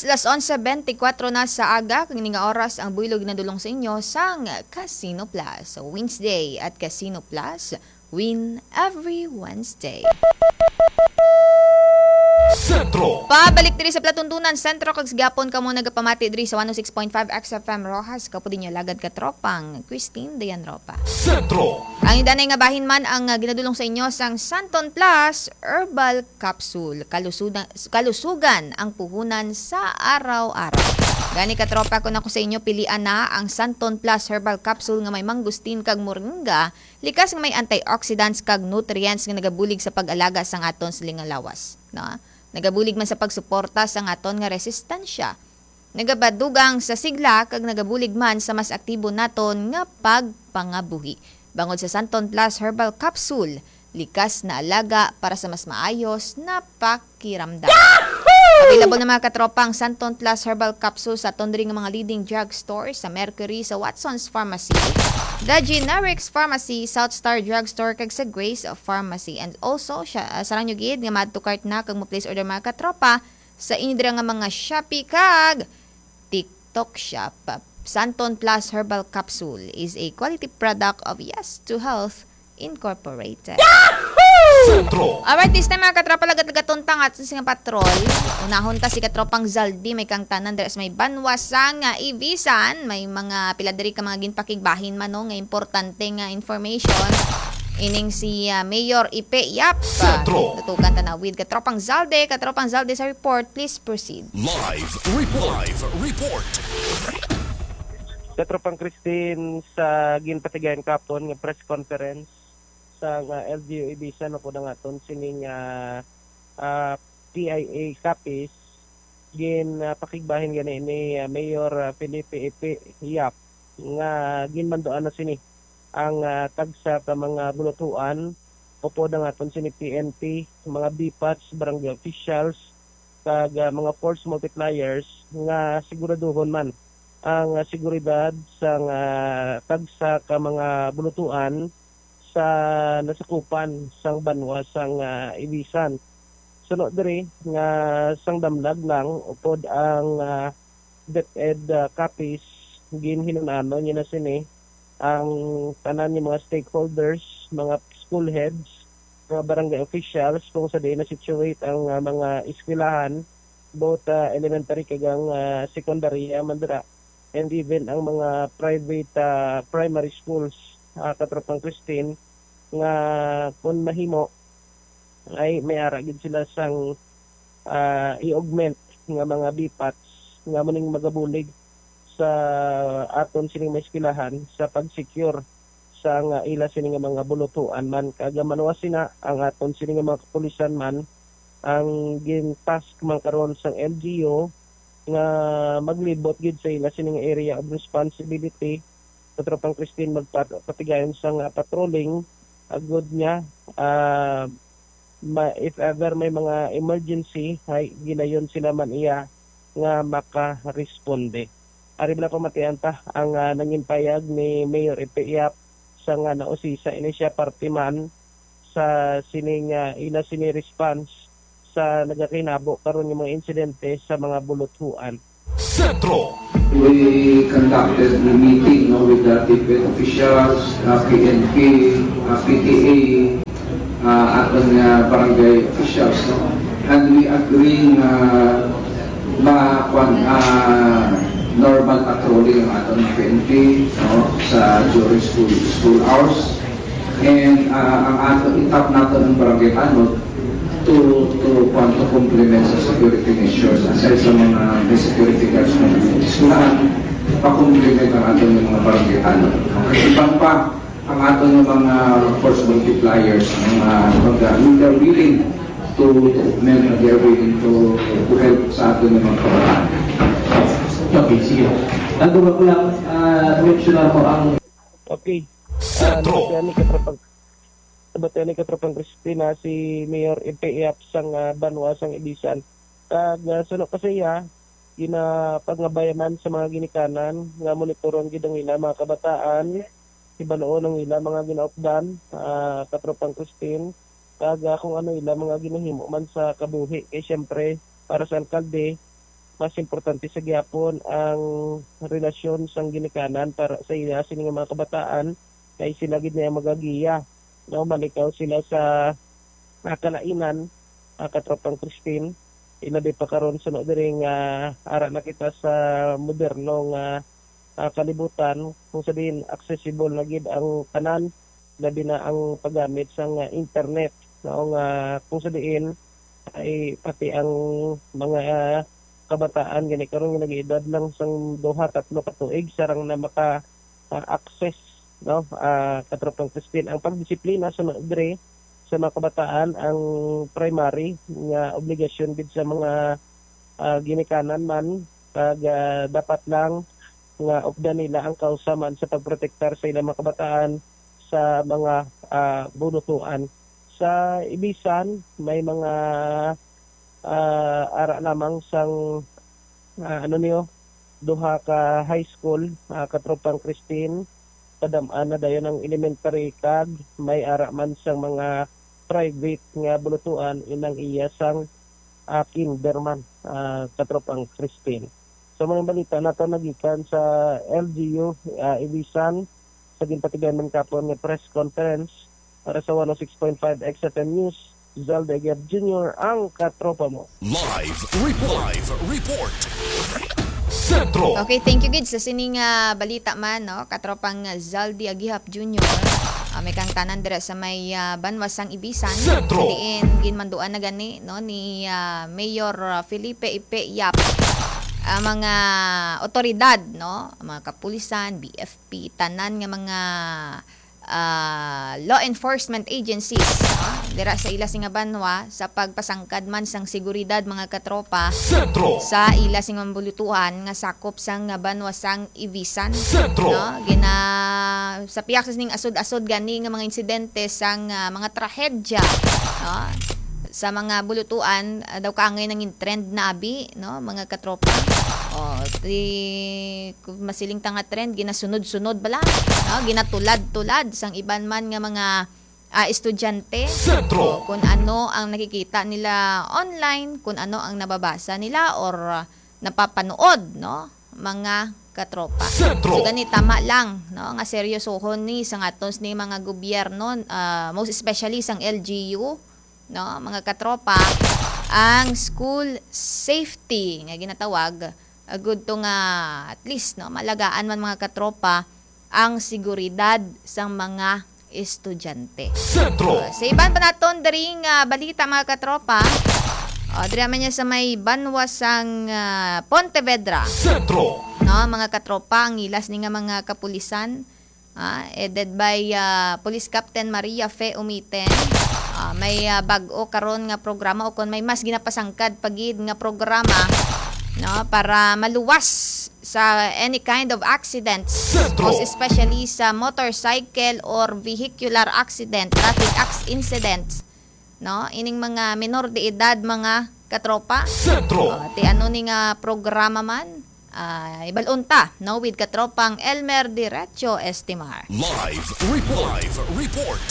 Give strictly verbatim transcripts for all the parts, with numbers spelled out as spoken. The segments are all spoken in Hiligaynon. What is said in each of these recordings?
Las onse bentikwatro na sa aga, kag ini nga oras ang buylog ginadulong sa inyo sang Casino Plus. Wednesday at Casino Plus, win every Wednesday. Sentro. Pabalik diri sa Platuntunan Sentro, kag sa gihapon kamo nagapamati diri sa one oh six point five X F M Roxas, kaupod ninyo alagad katropang Christine Dayan Ropa. Sentro. Ang indanay nga bahin man ang, ah, ginadulong sa inyo sang Santon Plus Herbal Capsule. Kalusudan, kalusugan ang puhunan sa araw-araw. Gani, katropa, kon ako sa inyo, pilian na ang Santon Plus Herbal Capsule nga may mangosteen kag moringa, likas nga may antioxidants kag nutrients nga nagabulig sa pag-alaga sang aton siling nga lawas, no? Nagabulig man sa pagsuporta sang aton nga resistensya. Nagapadugang sa sigla kag nagabulig man sa mas aktibo naton nga pagpangabuhi. Bangod sa Santon Plus Herbal Capsule, likas na alaga para sa mas maayos na pakiramdam. Available na, mga katropa, ang Santon Plus Herbal Capsule sa aton diri nga mga leading drugstore, sa Mercury, sa Watson's Pharmacy, The Generics Pharmacy, South Star Drugstore, kag sa Grace Pharmacy. And also, siya, ah, sarang nyo gid nga ma-add to cart na kag mo-place order, mga katropa, sa inyo dira nga mga Shopee kag TikTok Shop. Santon Plus Herbal Capsule is a quality product of Yes to Health Incorporated. Sentro. Alright, this time, mga katropa, lagat-lagaton ta nga aton sing patrol. Unahon ta si katropang Zaldi, may kangtanan dira sa may banwa sang, ah, Ibisan. May mga pila diri ka mga ginpakigbahin man, no, nga importante nga information. Ining si, ah, Mayor Ipe Yap. Sentro. Tutukan ta na with katropang Zalde. Katropang Zalde sa report, please proceed. Live report. Live report. Katropang Christine, sa ginpatigayon kapon nga press conference sa nga L G U Ibisan, no, po na nga aton sining, ah, ah, P I A Capiz, gin, ah, pakigbahin gani ni, ah, Mayor, ah, Felipe Ipe Yap nga ginmanduan na sini ang, ah, tagsa ka mga bulutuan, upod ang aton sini P N P, mga B pats, barangay officials, kag, ah, mga force multipliers nga siguraduhon man ang, ah, seguridad sang, ah, tagsa ka mga bulutuan sa nasakupan sang banwa sang, ah, Ibisan. Suno diri nga sang damlag lang upod ang, ah, DepEd, ah, Capiz, ginhinun-anon niya na sini ang tanan nga mga stakeholders, mga school heads, mga barangay officials kung sa diin na-situate ang, ah, mga eskwelahan, both, ah, elementary kag ang, ah, sekundarya man dira, and even ang mga private, ah, primary schools, ah, Katropang Christine, nga kung mahimo, ay may ara gid sila sang, ah, i-augment nga mga B pats nga muning magabulig sa aton sining mga eskwelahan sa pag-secure sa nga ila sini nga mga bulutuan man. Kag manuwa sina ang aton sini nga mga kapulisan man ang gin-task man karon sang L G U nga maglibot gid sa ila sini nga area of responsibility, Katropang Christine, magpat-, patigayon sang, ah, patrolling, agud nga, ah, ma-, if ever may mga emergency, ay ginayon sila man iya nga makaresponde. Ari bala pamatian ta ang, ah, nangin payag ni Mayor Ipe Yap sa nga nausisa ini siya parte man sa sining, ah, ila sini response sa nagakinabo karon nga mga insidente sa mga buluthuan. Sentro. We conducted the meeting, no, with the DepEd officials, uh, P N P, uh, P T A, uh, aton nga barangay officials, no? And we agree nga ma-, kwan, ah, normal patrolling ang aton nga P N P, no, sa during school, school hours. And, ah, ang ato, itap nato ang barangay tanod to, to, kwan, to complement sa security measures. Aside sa mga may security guards na eskwelahan, pa-complement ang aton nga mga barangay tanod. Iban pa, ang aton nga mga force multipliers, ang mga, mga, we are willing to, to augment, and they are willing to, to help sa aton nga mga kabataan. Okay, sige. Ang duwa ko lang, ah, mention ako ang Okay. Ah, Sentro. Nabatian ni Katropang, nabatian ni Katropang Christina si Mayor Ipe Yap sang, ah, banwa sang Ibisan. Kag, ah, suno pa sa iya, ginapangabay man sa mga ginikanan nga monitoron gid ang ila mga kabataan, hibaluon ang ila mga ginaupdan, ah, Katropang Christine, kag, ah, kung ano ila mga ginahimo man sa kabuhi. Kay siyempre, para sa alkalde, mas importante sa gihapon ang relasyon sang ginikanan para sa ila sini nga mga kabataan, kay sila gid na ang magagiya, no? Malikaw sila sa, ah, kalainan, ah, katropang Christine, ilabi pa karon suno diri nga ara na kita sa moderno nga, ah, kalibutan, kung sa diin accessible na gid ang tanan, labi na ang paggamit sang, ah, internet, no, nga kung sa diin ay pati ang mga kabataan gani karon nga nag-edad lang sang duha, tatlo ka tuig, sarang na maka, ah, access, no, ah, katropang Christine. Ang pagdisiplina sa mga dre, sa mga kabataan, ang primary nga obligasyon gid sa mga, ah, ginikanan man, kag, ah, dapat lang nga updan nila ang kausa man sa pagprotektar sa ilang mga kabataan sa mga, ah, bulutuan. Sa Ibisan, may mga, ah, ara lamang sang, ah, ano niyo, duha ka high school, ah, katropang Christine, padam-an na dayon ang elementary, kag may ara man sang mga private nga bulutuan inang iya sang, ah, kinder man, ah, katropang Christine. So, mga balita nato nagikan sa L G U, ah, Ibisan, sa ginpatigayon man kapon nga press conference para sa one oh six point five X F M News, Zalde Aguiar Junior, ang katropa mo. Live report. Live report. Sentro. Okay, thank you gid sa sining, ah, balita man, no? Katropang Zaldi Agihap Junior. Ah, may kang tanan dira sa may, ah, banwa sang Ibisan. Sentro. Diin ginmanduan na gani, no, ni, ah, Mayor, ah, Felipe Ipe Yap ang mga otoridad, no? Ang mga kapulisan, B F P, tanan nga mga, ah, law enforcement agencies, no? Dira sa ila sing banwa sa pagpasangkad man sang seguridad, mga katropa, Sentro. Sa ila sing bulutuhan nga sakop sang banwa sang Ibisan, Sentro. No? Gina-, sa pihak sa sining asod-asod gani nga mga insidente sang, ah, mga trahedya, no? Sa mga bulutuan, ah, daw kaangay nangin trend na abi, no, mga katropa. Oh, di, kung masiling ta nga trend, ginasunod-sunod bala, no? Ginatulad-tulad sang iban man nga mga, ah, estudyante. Sentro. O, kung ano ang nakikita nila online, kung ano ang nababasa nila or, ah, napapanood, no, mga katropa. Sentro. So, gani, tama lang, no, nga seryosohon ni sang aton ni mga gobyerno, ah, most especially sang L G U, no, mga katropa, ang school safety nga ginatawag, agud to nga at least, no, malagaan man, mga katropa, ang seguridad sang mga estudyante. Sentro. Uh, sa iban pa naton diri nga balita, mga katropa, uh, diri man niya sa may banwa sang, uh, Pontevedra. Sentro. No, mga katropa, ang ilas ni nga mga kapulisan, ah, headed by, ah, Police Captain Maria Fe Umiten. Ah, may, ah, bag-o karon nga programa o kon may mas ginapasangkad pa gid nga programa, no, para maluwas sa any kind of accidents, Sentro. Most especially sa motorcycle or vehicular accident, traffic acc-, incidents, no? Ining mga menor de edad, mga katropa. Sentro. Oh, ti ano ni nga programa man? Ah, ibal-on ta, no, with katropang Elmer Diretso Estimar. Live report. Live report.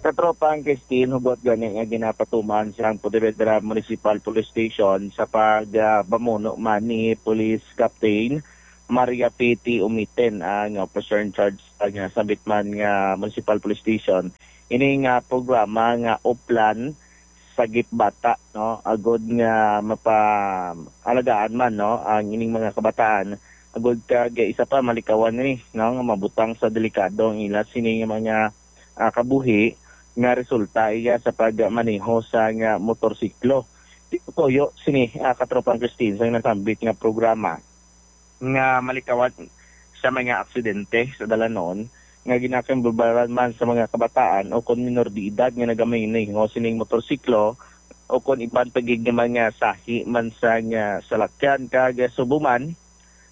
Katropang Christine, hugot gani nga ginapatuman sang Pontevedra Municipal Police Station sa pag, ah, pamuno man ni Police Captain Maria Piti Umiten, ang officer in charge sa nga sambit man nga Municipal Police Station. Ini nga programa nga Uplan Sagip Bata, no, agud nga mapaalagaan man, no, ang ining mga kabataan, agud kag isa pa malikawan ni, no, nga mabutang sa delikado ang ila sini nga mga, ah, kabuhi nga resulta iya sa pagmaneho sa nga motorsiklo. Di ko tuyo sini, ah, katropang Christine, sa nasambit nga programa nga malikawan sa mga aksidente sa dalanon nga ginakambularan man sa mga kabataan o kon minor de edad nga nagamaneho sining motorsiklo o kon iban pa gid nga mga sahi man sa nga salakyan kag subo man.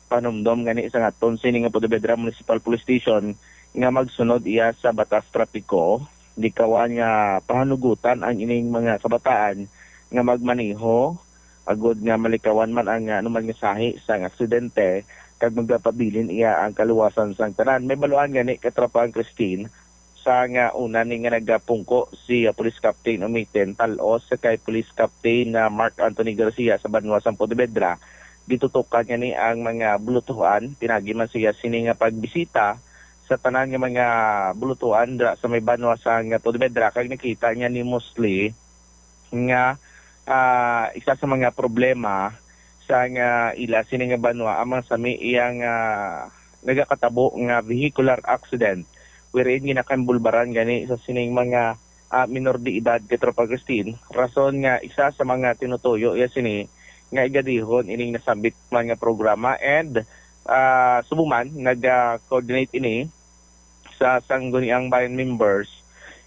Panumdom gani sa aton sini nga Pontevedra Municipal Police Station nga magsunod iya sa batas trapiko, likawan nga pahanugutan ang ining mga kabataan nga magmaneho agud nga malikawan man ang, ah, anuman nga sahi sang aksidente kag magapabilin iya ang kaluwasan sang tanan. May baluan gani, katropang Christine, Sa nga una ni nga nagapungko si, ah, Police Captain Umitin Talos sa kay Police Captain, ah, Mark Anthony Garcia sa banwa sang Pontevedra, gitutukan niya ni ang mga bulutuhan, pinagi man siya sini nga pagbisita sa tanan nga mga bulutuhan dira sa may banwa sang Pontevedra, kag nakita niya ni mostly nga, ah, isa sa mga problema sa nga ila sini nga banwa ang mga sami iya nga nagakatabo nga vehicular accident, wherein ginakambulbaran gani sa sining mga, ah, minor de edad, Katropa Christine, rason nga isa sa mga tinutuyo iya sini nga igadihon ining nasambit man nga programa, and, ah, subong man nag-coordinate ini sa Sangguniang Bayan members,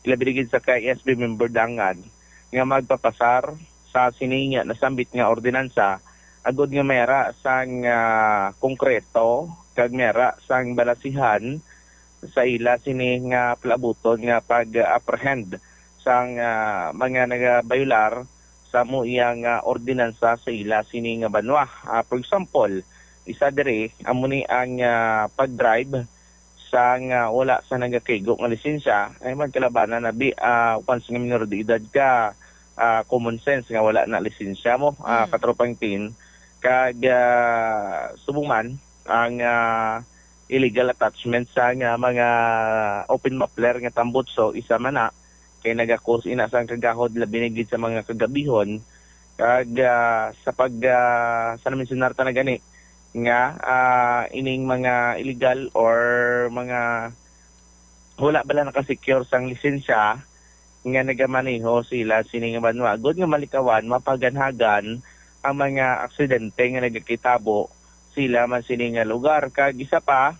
ilabi na gid sa K I S B member Dangan, nga magpapasar sa sini nga nasambit nga ordinansa, agod nga mayara sang, ah, konkreto kag mayara sang balasihan sa ila sini nga palabuton nga pag-apprehend sang, ah, mga nagabayular sa amo iya nga ordinansa sa ila sini nga banwa. Ah, for example, isa diri amo ni ang, ah, pag-drive sa nga wala sa nagakaigo nga lisensya, ay magkalabanan na bi, ah, once nga minor de edad ka, ah, common sense nga wala na lisensya mo, ah, Mm. Katropang Tin. Kag, ah, subong man ang, ah, illegal attachment sa nga mga open muffler nga tambutso, isa man na kay nagakos ina sang kagahod, labi na gid sa mga kagabihon. Kag, ah, sa pag, ah, sa na-mensionar ta na gani, nga, ah, ining mga illegal or mga wala bala naka-secure sang lisensya nga nagamaneho sila sini nga banwa, agud nga malikawan, mapaganhagan ang mga aksidente nga nagakitabo sila man sini nga lugar. Kag isa pa,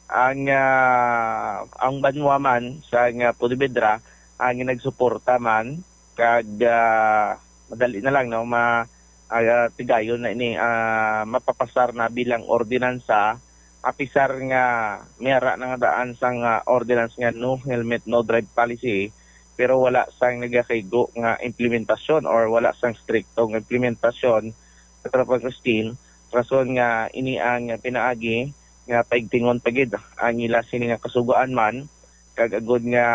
ang, ah, ang banwa man sa nga Pontevedra ang nagsuporta man kag, ah, madali na lang, no, ma-, ah, tigayon na ini, ah, mapapasar na bilang ordinansa, apisar nga may ara na nga daan sang, ah, ordinance nga no helmet, no drive policy, pero wala sang nagakaigo nga implementasyon or wala sang strikto nga implementasyon, Katropang Christine, rason nga ini ang pinaagi nga paigtingon pa gid ang ila sini nga kasugoan man, kag agud nga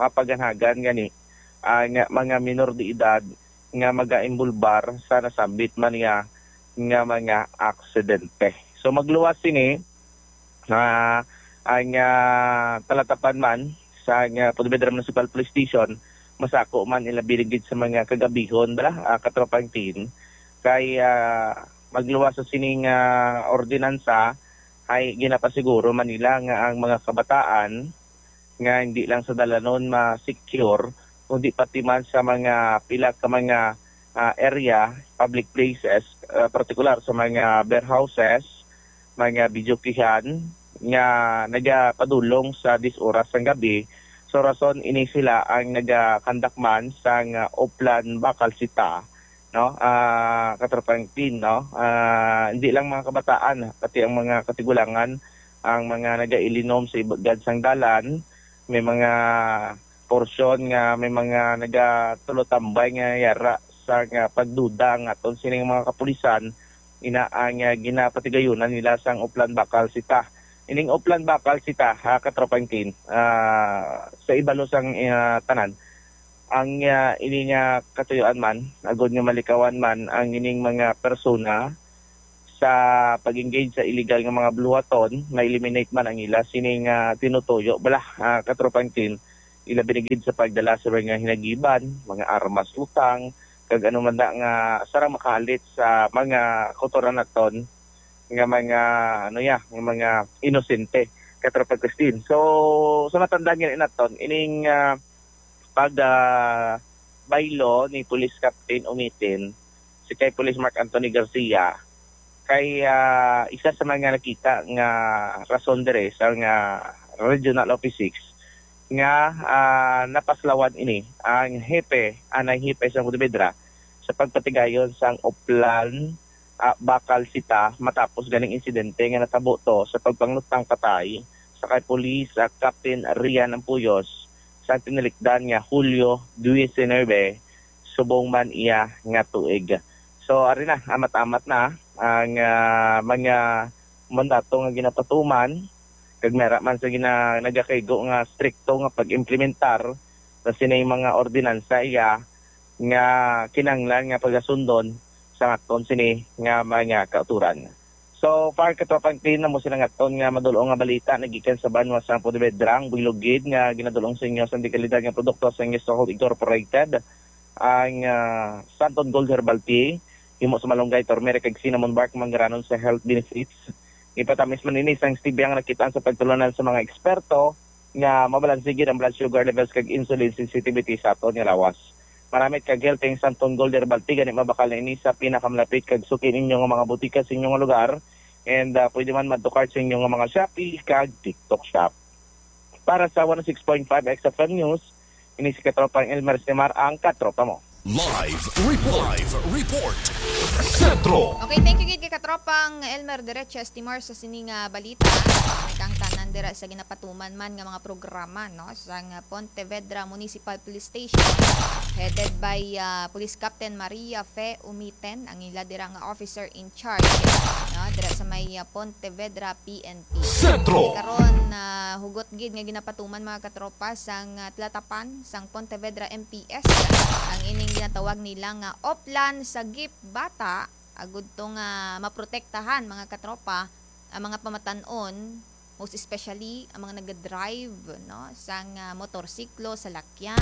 mapaganhagan gani ang mga minor de edad nga magaimbulbar sa nasambit man nga, nga mga aksidente. So, magluwas sini, ah, ang, ah, talatapan man sa, ah, Pontevedra Municipal Police Station, masako man ilabi na gid sa mga kagabihon, bala, ah, Katropang Tin, kay, ah, magluwas sa sining, ah, ordinansa, ay ginapasiguro man nila nga ang mga kabataan nga hindi lang sa dalanon ma-secure, kundi pati man sa mga pila ka mga, ah, area, public places, ah, partikular sa mga beer houses, mga videokehan nga nagapadulong sa diyes oras sang gabi. So, rason ini sila ang nagakandak man sang, ah, Oplan Bakal Sita, no? Ah, Katropang Tin, no? Ah, hindi lang mga kabataan, pati ang mga katigulangan, ang mga nagailinom sa ibagad sang dalan, may mga porsyon nga may mga nagatulotambay nga yara sa nga pagduda ang aton sining mga kapulisan, ina ang, ah, ginapatigayunan nila sang Oplan Bakal Sita. Ining Oplan Bakal Sita, ha, Katropang Tin, ah, sa ibalo sang, ah, tanan, ang, ah, ini nga katuyuan man, agud nga malikawan man ang ining mga persona sa pag-engage sa illegal nga mga buluhaton, ma-eliminate man ang ila sining, ah, tinutuyo. Bala, ah, Katropang Tin, ilabi na gid sa pagdala sa mga hinagiban, mga armas, utang, kag ano man na nga sarang makahalit sa mga kautoran naton nga mga, ano ya, nga mga inosente, Katropang Christine. So, sa matandaan nga naton, ining, ah, pag, ah, baylo ni Police Captain Umitin, si kay Police Mark Anthony Garcia, kay, ah, isa sa mga nakita nga rason diri sa nga Regional Office Six nga, ah, napaslawan ini ang hepe, anay hepe sa Pontevedra sa pagpatigayon sang Oplan, ah, Bakal Sita matapos ganing insidente nga natabo to sa pagpanglutang patay sa kay Police, ah, Captain Rian Ampuyos sa tinilikdan nga Hulyo diecinuebe, subong man iya nga tuig. So, ari na, amat-amat na ang, ah, mga mandato nga ginapatuman Kag mera man sa gina-, nagakaigo nga strikto nga pag-implementar sa sining mga ordinansa iya nga kinahanglan nga pagasundon sa aton sini nga mga kauturan. So far, Katropang Tin, amo sila nga aton nga madul-ong nga balita nagikan sa banwa sa Pontevedra. Ang buylog gid nga ginadul-ong sa inyo sa dekalidad nga produkto sang News Soul Incorporated, ang, ah, Santon Gold Herbal Tea, himo sa malunggay, turmeric, kag cinnamon bark, manggaranon sa health benefits. Ipatamis man ini sang stevia nga nakit-an sa pagtulun-an sa mga eksperto nga mabalanse gid ang blood sugar levels kag insulin sensitivity sa aton nga lawas. Maramit kag healthy ang Santon Gold Herbal Tea, gani mabakal na ini sa pinakamalapit kag suki ninyo nga mga butika sa inyo nga lugar, and, ah, pwede man madto kart sa inyo nga mga Shopee kag TikTok shop. Para sa one oh six point five X F M News, ini si Katropang Elmer Simar, ang katropa mo. Live report. Live report. Sentro. Okay, thank you gid kay Katropang Elmer Dereches Timar sa sini nga balita. May kangtanan dira sa ginapatuman man nga mga programa, no, sang Pontevedra Municipal Police Station, headed by, ah, Police Captain Maria Fe Umiten, ang ila dira nga officer in charge, no, dira sa may, ah, Pontevedra P N P. Sentro. Karon, ah, hugot gid nga ginapatuman, mga katropa, sang, ah, Tlatapan sang Pontevedra M P S ang ining ginatawag nila nga Oplan Sagip Bata, agud to nga maprotektahan, mga katropa, ang mga pamatan-on, most especially ang mga nagadrive, no, sang, ah, motorsiklo, salakyan,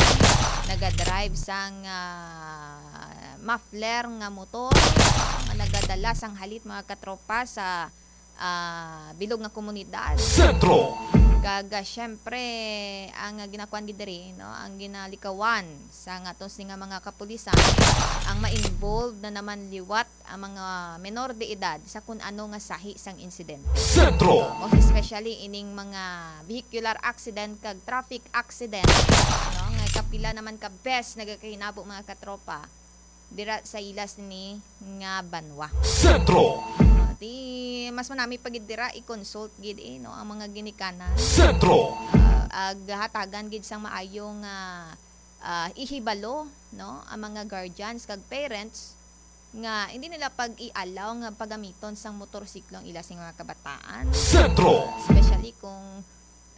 nagadrive sang, ah, muffler nga motor, no, nga nagadala sang halit, mga katropa, sa, ah, bilog nga komunidad. Sentro. Kag, ah, syempre, ang, ah, ginakuan gid diri, no, ang ginalikawan sa nga aton sini nga mga kapulisan, ang ma-involve na naman liwat ang mga menor de edad sa kun ano nga sahi sang insidente. Sentro. Uh, most especially ining mga vehicular accident kag traffic accident, no, nga kapila naman ka bes nagakahinabo, mga katropa, dira sa ilas ni nga banwa. Sentro. Uh, di mas manami pa gid dira i-consult gid, eh, no, ang mga ginikanan. Sentro. Uh, ag hatagan gid sang maayo nga, uh, ihibalo, no, ang mga guardians kag parents nga hindi nila pag-i-allow nga pagamiton sang motorsiklo ang ila sing mga kabataan. Sentro. Especially kung,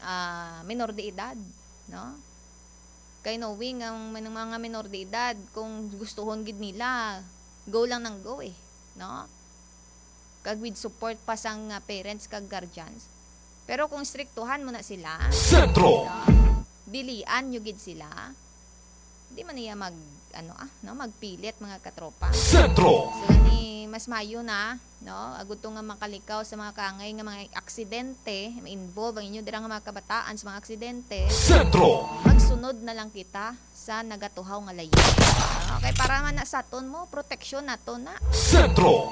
ah, menor de edad, no? Kay knowing ang men-, mga menor de edad, kung gustuhon gid nila, go lang ng go, eh, no? Kag with support pa sang, ah, parents kag guardians. Pero kung striktuhan mo na sila, Sentro. No? Dilian nyo gid sila, di man niya mag, ano, ah, no, magpilit, mga katropa. Sentro. So, gani, mas mayo na, no, agud to nga makalikaw sa mga kaangay nga mga aksidente, ma-involve ang inyo dira nga mga kabataan sa mga aksidente. Sentro. Magsunod na lang kita sa nagatuhaw nga layo. Okay, para man na sa aton mo, proteksyon nato na. Sentro.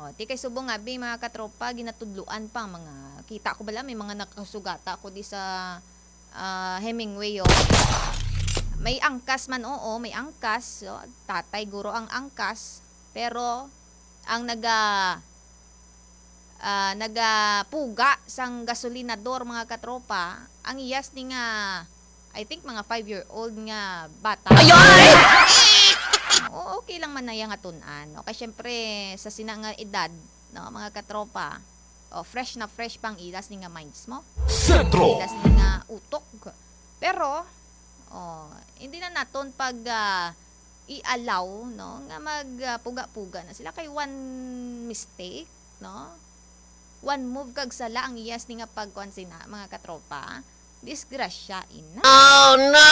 O, di kay subong nga, bi, mga katropa, ginatudluan pa ang mga, kita ko bala, may mga nakasugata ko di sa, ah, Hemingway, oh. May angkas man, oo, may angkas, oh. Tatay guro ang angkas, pero ang naga-, ah, nagapuga sang gasolinador, mga katropa, ang iyas ni nga, I think, mga five-year-old nga bata. Ayay! Oo, okay lang man na iya nga tun-an, no? Kay syempre, sa sina nga edad, no, mga katropa, oh, fresh na fresh pang ilas ni nga minds mo. Sentro. Ilas ni nga utok. Pero, oh, hindi na naton pag, ah, i-allow, no, nga mag, ah, puga-puga na sila kay one mistake, no? One move kag sala ang iyas ni nga pagkuan sina, mga katropa. Disgrasya ina. Oh, no!